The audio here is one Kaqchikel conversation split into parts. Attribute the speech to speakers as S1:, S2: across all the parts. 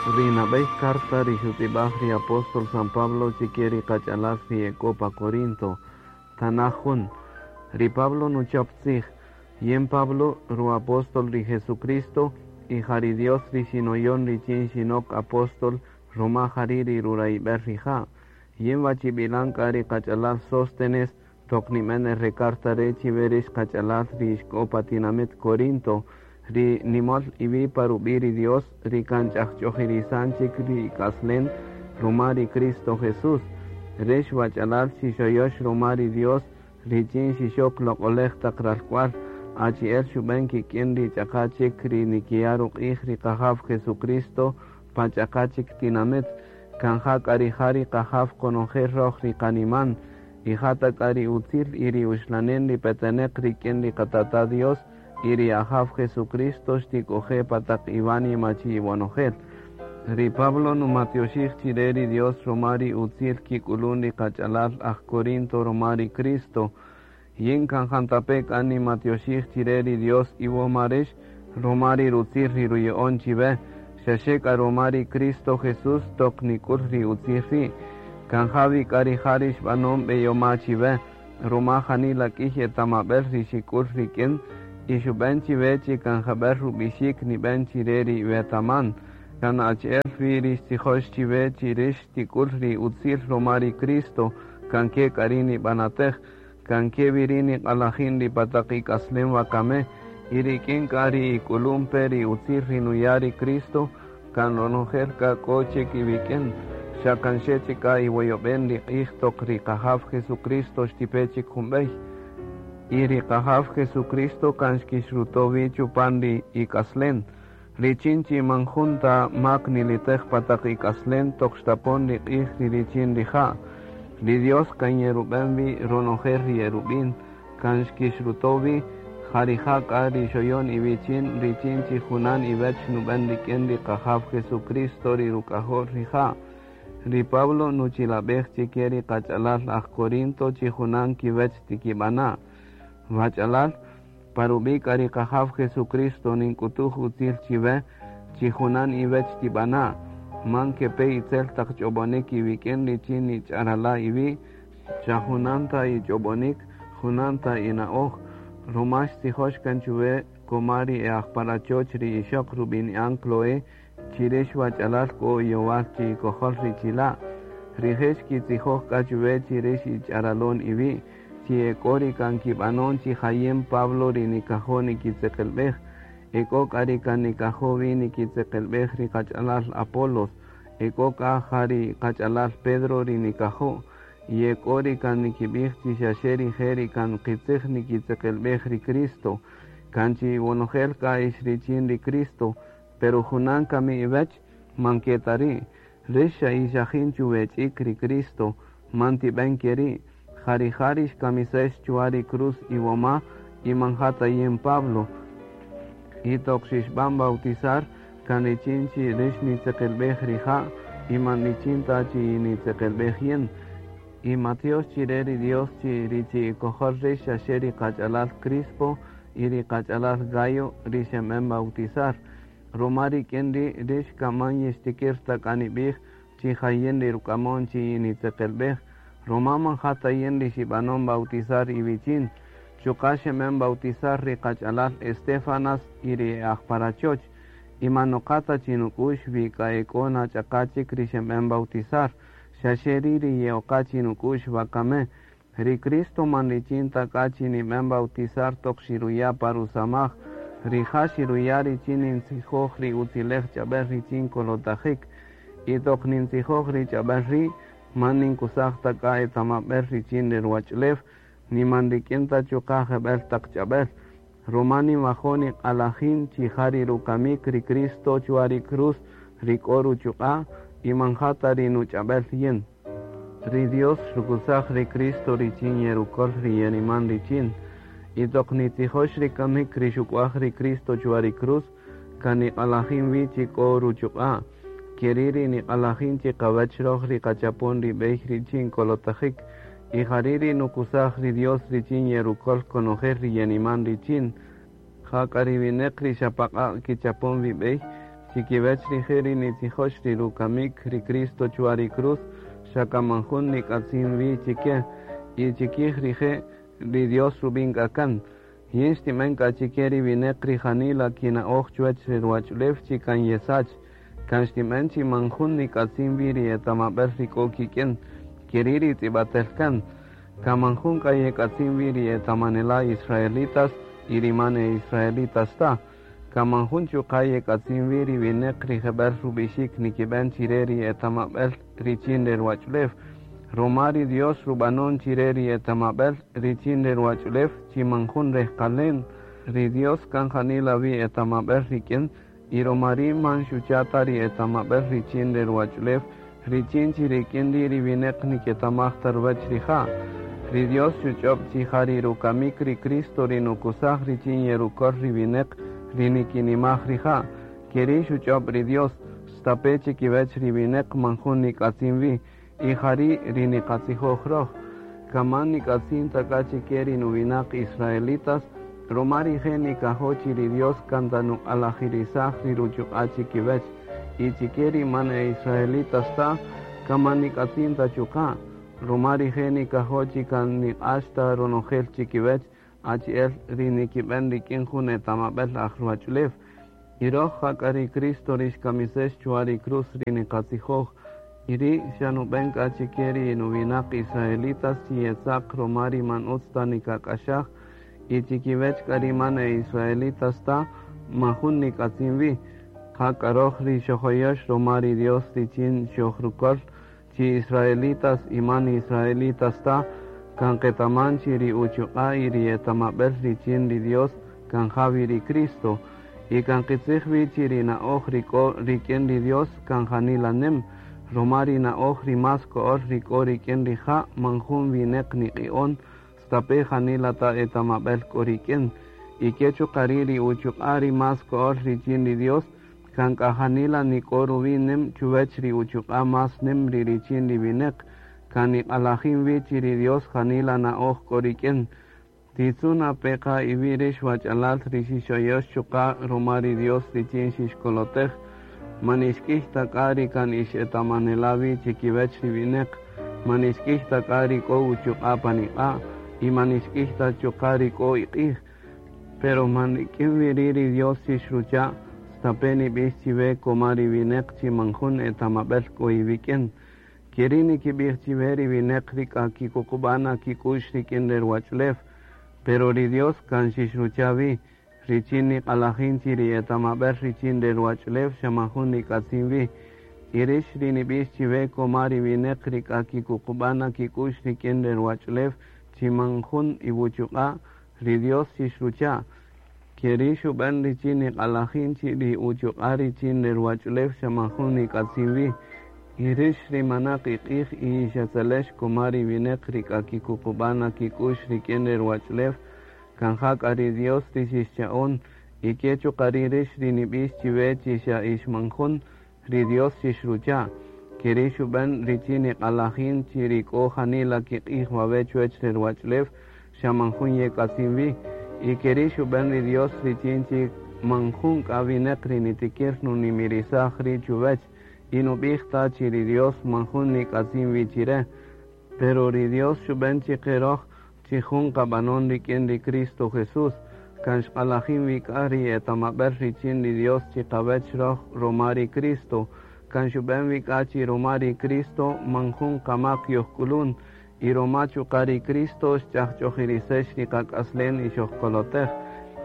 S1: Ri nab'ey carta ri xutz'ib'aj ri apóstol San Pablo chike ri qach'alal ri e k'o pa Corinto. Tanaj jun. Ri Pablo nuchop tzij. Yin Pablo, ru apóstol ri Jesucristo, y ja ri Dios ri xinoyon richin xinok apóstol ruma jari' ri rurayb'el rija'. Yin wachib'ilan k'a ri qach'alal Sóstenes toq nib'en el re carta re' chiwe rix qach'alal ri ixk'o pa tinamit Corinto, ri nimol iwi' pa rub'i' ri Dios ri kan ch'ajch'ojirisan chik ri ik'aslen ruma ri Cristo Jesús. Rix wach'alal xixoyox ruma ri Dios richin xixok loq'olej taq ralk'wal, achi'el xub'en kik'in ri ch'aqa chik ri nikiya' ruq'ij ri Qajaw Jesucristo pa ch'aqa chik tinamit. Kan ja k'a rija' ri Qajaw qonojel roj ri qaniman, y ja ta k'a ri utzil y ri uxlanen ri peteneq rik'in ri Qatata' Dios y ri Ajaw Jesucristo xtik'oje' pa taq iwánima chi iwonojel. Ri Pablo numatyoxij chire ri Dios ruma ri utzil kik'ulun ri qach'alal aj Corinto ruma ri Cristo. Yin kan jantape' k'a nimatyoxij chire ri Dios iwoma rix ruma ri rutzil ri ruya'on chiwe, xaxe k'a ruma ri Cristo Jesús toq nik'ul ri utzil ri'. Kan ja wi k'a rija' ri xb'anon b'eyoma chiwe, ruma janila k'iy etamab'el ri xik'ul rik'in y xub'en chiwe chi kan jab'el rub'ixik nib'en chire ri iwetaman. Kan achi'el wi ri xtzijox chiwe chi rix xtik'ul ri utzil ruma ri Cristo, kan ke k'a ri' nib'anatej, kan ke wi ri' niq'alajin ri pa taq ik'aslem wakame, y rik'in k'a ri ik'ulun pe ri utzil ri nuya' ri Cristo, kan ronojel k'a k'o chik iwik'in. Xa kan xe chik k'a iwoyob'en ri q'ij toq ri Qajaw Jesucristo xtipe chik jun b'ey. Y ri Qajaw Jesucristo kan xkixruto' wi chupan ri ik'aslen, richin chi man jun ta mak nilitej pa taq ik'aslen toq xtapon ri q'ij ri richin rija'. Ri Dios kan yerub'en wi ronojel ri yerub'in, kan xkixruto' wi, ja rija' k'a ri xoyon iwichin richin chi junan iwech nub'en rik'in ri Qajaw Jesucristo ri ruk'ajol rija'. Ri Pablo nuchilab'ej chike ri qach'alal aj Corinto chi junan kiwech tikib'ana'. Wach'alal, pa rub'i' k'a ri Qajaw Jesucristo nink'utuj utzil chiwe chi junan iwech tib'ana'. Man kepe itzel taq ch'ob'onik iwik'in richin nich'arala' iwi', xa junan ta ich'ob'onik, junan ta ina'oj. Ruma xtzijox kan chuwe koma ri e aj pa rachoch ri ixoq rub'ini'an Cloé, chi rix wach'alal k'o iyowal chi ikojol ri chila'. Rije' xkitzijoj k'a chuwe chi rix ich'aralon iwi', chi e k'o ri kan kib'anon chi jayin Pablo ri nikajo' nikitzeqelb'ej, e k'o k'a ri kan nikajo' wi nikitzeqelb'ej ri qach'alal Apolos, e k'o k'a ja ri qach'alal Pedro ri nikajo', y e k'o ri kan nikib'ij chi xaxe rije' ri kan qitzij nikitzeqelb'ej ri Cristo. Kan chi iwonojel k'a ix richin ri Cristo, pero junan kami iwech, man ke ta ri'. Rix xa ixajin chuwech'ik ri Cristo, man tib'en ke ri'. Ja rija' ri xkamisex chwa ri cruz iwoma y man ja ta yin Pablo. Y toq xixb'an bautizar, kan richin chi rix nitzeqelb'ej rija' y man richin ta chi nitzeqelb'ej yin. Y matyox chire ri Dios chi ri chi ikojol rix xaxe ri qach'alal Crispo y ri qach'alal Gayo ri xeb'en bautizar. Ruma rik'in ri' rix kaman yixtikir ta k'a nib'ij chi jayin ri ruk'amon chi nitzeqelb'ej, ruma man ja ta yin ri xib'anon bautizar iwichin. Chuqa' xeb'en bautizar ri qach'alal Estéfanas y ri e aj pa rachoch. Y man noqa ta chi nuk'u'x wi k'a e k'o na ch'aqa chik ri xeb'en bautizar, xaxe ri' ri ye'oqa chi nuk'u'x wakame. Ri Cristo man richin ta k'a chi nib'en bautizar toq xiruya' pa rusamaj, rija' xiruya' richin nintzijoj ri utzilej ch'ab'el richin kolotajik. Y toq nintzijoj ri ch'ab'el ri', man ninkusaj ta k'a etamab'el richin ri ruwach'ulew, ni man rik'in ta chuqa' jeb'el taq ch'ab'el. Ruma ninwajo' niq'alajin chi ja ri rukamik ri Cristo chwa ri cruz ri k'o ruchuq'a' y man ja ta ri nuch'ab'el yin. Ri Dios xukusaj ri Cristo richin yerukol ri yeniman richin. Y toq nitzijox ri kamik ri xuk'waj ri Cristo chwa ri cruz, kan niq'alajin wi chi k'o ruchuq'a'. Ke ri' ri niq'alajin chi qawech roj ri qachapon ri b'ey richin kolotajik. Y jari' ri nukusaj ri Dios richin yerukol konojel ri yeniman richin. Ja k'a ri wineq ri xa paq'a' kichapon wi b'ey, Chikiwech rije' ri nitzijox ri rukamik ri Cristo chwa ri cruz, xa kan man jun nik'atzin wi chike, y chikij rije' ri Dios rub'in k'a kan. Yin xtinb'en k'a chike ri wineq ri janila kina'oj chuwech ri ruwach'ulew chi kan yesach. Kan xtinb'en chi man jun nik'atzin wi ri etamab'el ri k'o kik'in, keri' ri tz'ib'atel kan. Kan man jun k'a yek'atzin wi ri etamanela' israelitas y ri man e israelitas ta. Kan man jun chuqa' yek'atzin wi ri wineq ri jeb'el rub'ixik nikib'en chire ri etamab'el richin re ruwach'ulew. Ruma ri Dios rub'anon chire ri etamab'el richin re ruwach'ulew chi man jun rejqalen. Ri Dios kan janila wi etamab'el rik'in y ruma ri' man xucha' ta ri etamab'el richin re ruwach'ulew richin chi rik'in ri' ri wineq niketamaj ta ruwech rija'. Ri Dios xuch'ob' chi ja ri rukamik ri Cristo ri nukusaj richin yerukol ri wineq ri nikinimaj rija'. Keri' xuch'ob' ri Dios, stape' chikiwech ri wineq man jun nik'atzin wi, y jari' ri niqatzijoj roj. Kan man nik'atzin ta k'a chike ri nuwinaq israelitas, ruma rije' nikajo' chi ri Dios kan ta nuq'alajirisaj ri ruchuq'a' chikiwech, y chike ri man e israelitas ta, kan man nik'atzin ta chuqa', ruma rije' nikajo' chi kan niq'ax ta ronojel chikiwech, achi'el ri nikib'en rik'in jun etamab'el aj ruwach'ulew. Y roj ja k'a ri Cristo ri xkamisex chwa ri cruz ri niqatzijoj, y ri' xa nub'en k'a chike ri nuwinaq israelitas chi yetzaq ruma ri man utz ta nikak'axaj, y chikiwech k'a ri man e israelitas ta, man jun nik'atzin wi. Ja k'a roj ri xojoyox ruma ri Dios richin xojrukol, chi israelitas y man israelitas ta, kan qetaman chi ri uchuq'a' y ri etamab'el richin ri Dios kan ja wi ri Cristo. Y kan qitzij wi chi ri na'oj ri k'o rik'in ri Dios kan janila nem, ruma ri na'oj ri más ko'ol ri k'o rik'in rija' man jun wineq niq'i'on, stape' janila ta etamab'el k'o rik'in. Y ke chuqa' ri' ri uchuq'a' ri más ko'ol richin ri Dios, kan k'a janila nik'o ruwi' nem chuwech ri uchuq'a' más nem ri richin ri wineq. Kan niq'alajin wi chi ri Dios janila na'oj k'o rik'in. Titzu' na pe qa iwi' rix wach'alal ri xixoyox chuqa' ruma ri Dios richin xixkolotej. Man ixk'ij ta k'a ri kan ix etamanela' wi chikiwech ri wineq. Man ixk'ij ta k'a ri k'o uchuq'a' pan iq'a', y man ixk'ij ta chuqa' ri k'o iq'ij. Pero man rik'in wi ri' ri Dios xixrucha', stape' nib'ix chiwe koma ri wineq chi man jun etamab'el k'o iwik'in. Keri' nikib'ij chiwe ri wineq ri k'a kikuqub'a' na kik'u'x rik'in re ruwach'ulew. Pero ri Dios kan xixrucha' wi, richin niq'alajin chi ri etamab'el richin re ruwach'ulew xa man jun nik'atzin wi. Y rix ri nib'ix chiwe koma ri wineq ri k'a kikuqub'a' na kik'u'x rik'in re ruwach'ulew chi man jun iwuchuq'a', ri Dios xixrucha'. Keri' xub'en richin niq'alajin chi ri uchuq'a' richin re ruwach'ulew xa man jun nik'atzin wi. Y rix ri manaq iq'ij y ixetzelex koma ri wineq ri k'a kikuqub'a' na kik'u'x rik'in re ruwach'ulew, kan ja k'a ri Dios ri xixcha'on, y ke chuqa' ri' rix ri nib'ix chiwe chi xa ix man jun, ri Dios xixrucha'. Keri' xub'en richin niq'alajin chi ri k'o janila kiq'ij wawe' chuwech re ruwach'ulew xa man jun yek'atzin wi. Y keri' xub'en ri Dios richin chi man jun k'a wineq ri nitikir nunimirisaj ri' chuwech, y nub'ij ta chi ri Dios man jun nik'atzin wi chire. Pero ri Dios xub'en chiqe roj chi jun qab'anon rik'in ri Cristo Jesús, kan xq'alajin wi k'a ri etamab'el richin ri Dios chiqawech roj ruma ri Cristo, kan xub'en wi k'a chi ruma ri Cristo man jun qamaq yojk'ulun, y ruma chuqa' ri Cristo xch'ajch'ojirisex ri qak'aslen y xojkolotej.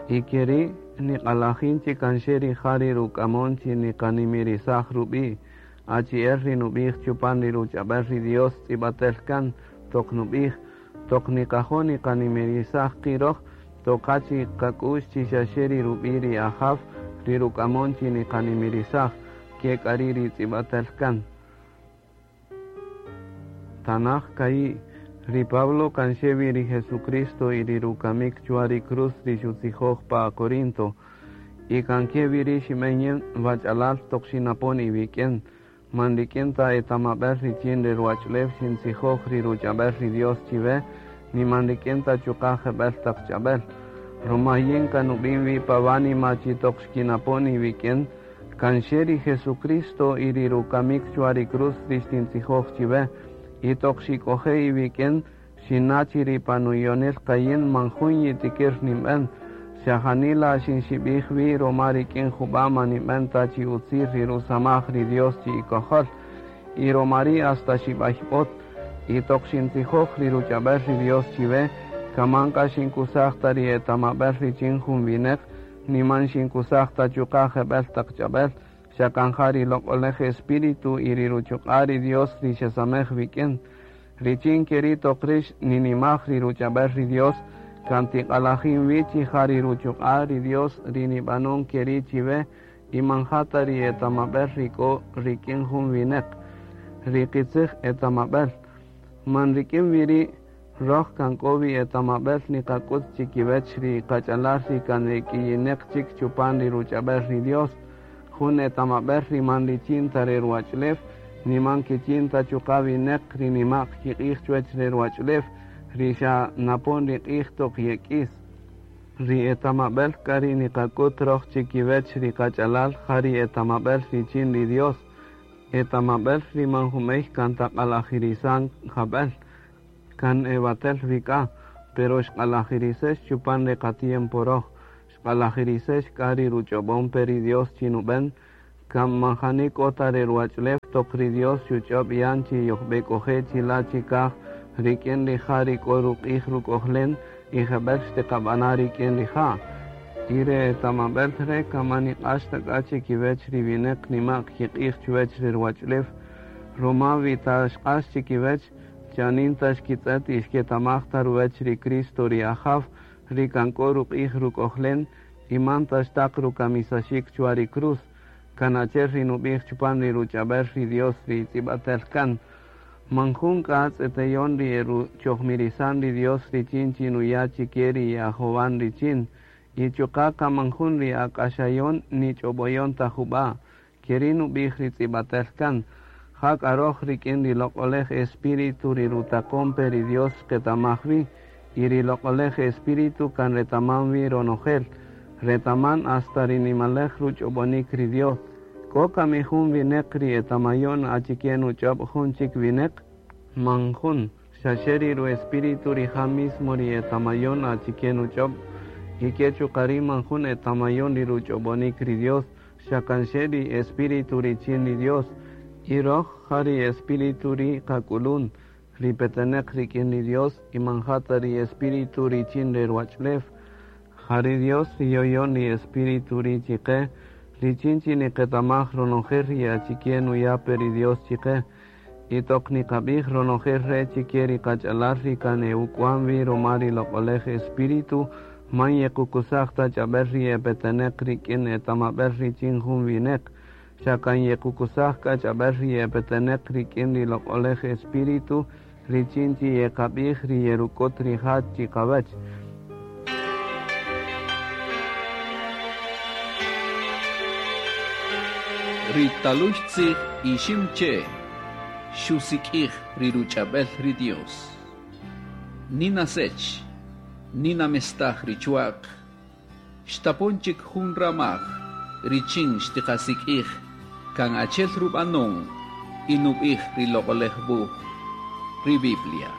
S1: Y keri' niq'alajin chi kan xe rija' ri ruk'amon chi niqanimirisaj rub'i', achi'el ri nub'ij chupan ri ruch'ab'el ri Dios tz'ib'atel kan, toq nub'ij, toq niqajo' niqanimirisaj qi' roj, toqa chi qak'u'x chi xa xe ri rub'i' ri Ajaw ri ruk'amon chi niqanimirisaj, ke k'a ri' ri tz'ib'atel kan. Tanaj ka'i', ri Pablo kan xe wi ri Jesucristo y ri rukamik chwa ri cruz ri xutzijoj pa Corinto. Y kan ke wi ri' xinb'en yin wach'alal toq xinapon iwik'in. Man rik'in ta etamab'el richin re ruwach'ulew xintzijoj ri ruch'ab'el ri Dios chiwe, ni man rik'in ta chuqa' jeb'el taq ch'ab'el. Ruma yin kan nub'in wi pa wánima chi toq xkinapon iwik'in, Kan xe ri Jesucristo y ri rukamik chwa ri cruz ri xtintzijoj chiwe. Y toq xik'oje iwik'in xinna' chi ri pa nuyonil qa yin man jun yitikir ninb'en. Xa janila xinxib'ij wi' ruma rik'in jub'a' man ninb'en ta chi utzil ri rusamaj ri Dios chi ikojol. Y ruma ri' hasta xib'ayb'ot. Y toq xintzijoj ri ruch'ab'äl ri Dios chiwe, kan man k'a xinkusaj ta ri etamab'äl richin jun winäq, ni man xinkusaj ta chuqa' jeb'ël taq ch'ab'äl, xa kan ja ri Loq'oläj Espíritu y ri ruchuq'a' ri Dios ri xesamej wik'in. Richin ke ri' toq rïx ninimaj ri ruch'ab'äl ri Dios, kan tiq'alajin wi chi ja ri ruchuq'a' ri Dios ri nib'anon ke ri' chiwe y man ja ta ri etamab'äl ri k'o rik'in jun winäq. Ri qitzij etamab'äl. Man rik'in wi ri', röj kan k'o wi etamab'äl niqak'üt chi kiwäch ri qach'alal ri kan e k'iyinäq chik chupan ri ruch'ab'äl ri Dios, jun etamab'äl ri man richin ta re ruwach'ulew, ni man kichin ta chuqa' winäq ri nima'q kiq'ij chuwäch re ruwach'ulew, ri xa napon ri q'ij toq yek'is. Ri etamab'äl k'a ri niqak'üt röj chi kiwäch ri qach'alal ja ri etamab'äl richin ri Dios, etamab'äl ri man jub'ey kan ta q'alajirisan jab'el, kan ewatel wi k'a, pero xq'alajirisex chupan re qatiempo röj, xq'alajirisex k'a ri ruch'ob'on pe ri Dios chi nub'än, kan man jani k'o ta re ruwach'ulew toq ri Dios xuch'öb' yan chi yojb'ek'oje' chi la' chi kaj rik'in rija' ri k'o ruq'ij ruk'ojlen y jeb'ël xtiqab'ana' rik'in rija'. Y re etamab'äl re' kan man niq'ax ta k'a chi kiwäch ri winäq nima'q kiq'ij chuwäch re ruwach'ulew, ruma wi ta xq'ax chi kiwäch, chanin ta xkitz'ët y xketamaj ta ruwäch ri Cristo ri Ajaw, ri kan k'o ruq'ij ruk'ojlen y man ta xtaq rukamisaxik chwa ri cruz, kan achi'el ri nub'ij chupan ri ruch'ab'äl ri Dios ri tz'ib'atel kan. Man jun k'a tz'eteyon ri eruchojmirisan ri Dios richin chi nuya' chi ke ri ye'ajowan richin, y chuqa' kan man jun ri ak'axayon ni ch'ob'oyon ta jub'a', ke ri' nub'ij ri tz'ib'atel kan. Ja k'a röj rik'in ri Loq'oläj Espíritu ri rutaqon pe ri Dios xqetamaj wi, y ri Loq'oläj Espíritu kan retaman wi ronojel, retaman hasta ri nimaläj ruch'ob'onïk ri Dios. K'o kami jun winäq ri etamayon achike nuch'öb' jun chik winäq? Man jun, xa xe ri ru-espíritu rija' mismo ri etamayon achike nuch'öb', y ke chuqa' ri' man jun etamayon ri ruch'ob'onïk ri Dios, xa kan xe ri Espíritu richin ri Dios. Y röj ja ri Espíritu ri' qak'ulun, ri petenäq rik'in ri Dios y man ja ta ri espíritu richin re ruwach'ulew. Ja ri Dios ri yoyon ri Espíritu ri' chi qe, richin chi niqetamaj ronojel ri achike nuya' pe ri Dios chi qe. Y toq niqab'ij ronojel re' chi ke ri qach'alal ri kan e uk'wan wi ruma ri Loq'oläj Espíritu, man yequkusaj ta ch'ab'äl ri e petenäq rik'in etamab'äl richin jun winäq, xa kan yequkusaj k'a ch'ab'äl ri e petenäq rik'in ri Loq'oläj Espíritu richin chi yeqab'ij ri yeruk'üt rija' chi qawäch.
S2: Ri talüy tzij Iximche' xusik'ij ri ruch'ab'äl ri Dios. Nina sech, nina mestaj ri chwa'q, xtapon chik jun ramaj richin xtiqasik'ij kan achi'el rub'anon y nub'ij ri Loq'oläj Wuj, ri Biblia.